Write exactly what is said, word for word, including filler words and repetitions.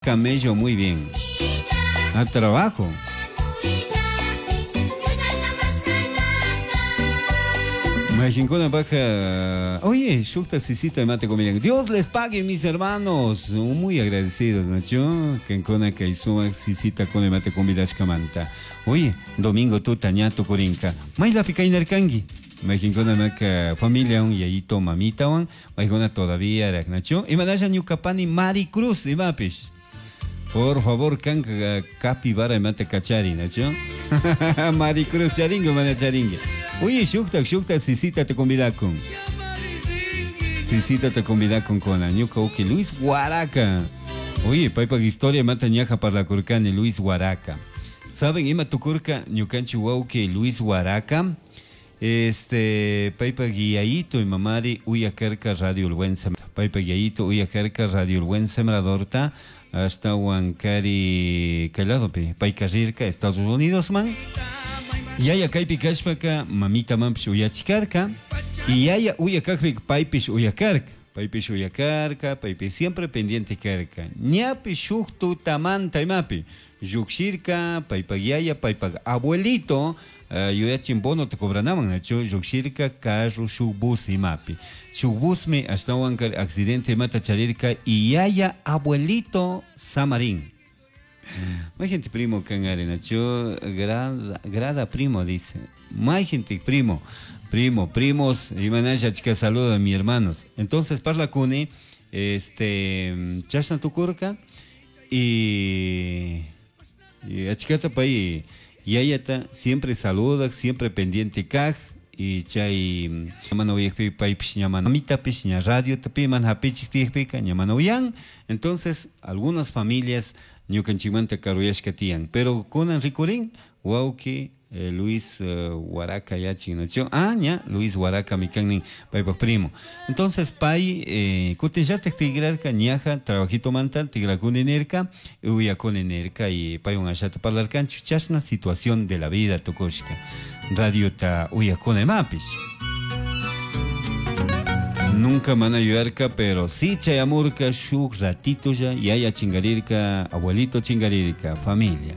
camello, muy bien. A trabajo. Majinkuna baja. Oye, shukta sisita mate comida. Dios les pague, mis hermanos. Muy agradecidos, Nacho. Kenkuna kaisumak sisita con mate comida kamanta. Oye, domingo tuta ñato kurinka. Maylapi kaynarkanki. Majinkuna maka familia un yayito mamita wan. Majinkuna todavía Nacho. Imanasha ñukapani Mari Cruz imapish. Por favor, kanka capibara mate kachari, Nacho. Mari Cruz charingo, mana charingue. Oye, shukta, shukta, sisita te convida con. Sisita te convida con con ñuka uki Luis Huaraca. Oye, paypa historia mata ñaja para la curcani Luis Huaraca. ¿Saben? Ima tukurka ñukanchi wawki Luis Huaraca. Este, paypa guiaito y mamari uyakarka Radio El Buen Sembrador. Paypa guiaito uyakarka Radio El Buen Sembradorta hasta Huancari Caladopi, payka rirka Estados Unidos man. Yaya kaypi kashpaka mamita manpish uyachikarka y yaya uyakakpi paypish uyakarka, paypish uyakarka, paypish siempre pendiente karka. Ñapi shuk tutamanta imapi llukshirka paypak yaya, paypak abuelito, uh, yuyachin bono te cobranaman, nachu llukshirka carro shuk bus imapi. Shuk busmi ashtawan accidente imata charirka y yaya abuelito samarín. May gente primo kangari nacho grada, grada primo dice. May gente primo, primo, primos y manaya chica saludo a mis hermanos. Entonces parla kuni este chashna tukurka y y achikata pay yayata siempre saluda, siempre pendiente kaj y chay mana uyakpi paypish ña mana mamitapish ña radio tapi man hapichik tiyakpika ña mana uyan. Entonces algunas familias ñukanchikmanta karuyashka tiyan, pero kunan rikurin wawki eh, Luis eh, Huaraca yachin nacho, ah ña Luis Huaraca mikannin paypak primo. Entonces pay eh, kutinllatak tigrarka ñaja trabajito manta tigrakuni nirka uyakuni nirka y paywan ashata parlarkanchik chashna situación de la vida tukushka radiota uyakuni mapish. Nunca mana yuyarka, pero sí chayamurka shuk ratito ya, yaya chingarirka, abuelito chingarirka, familia.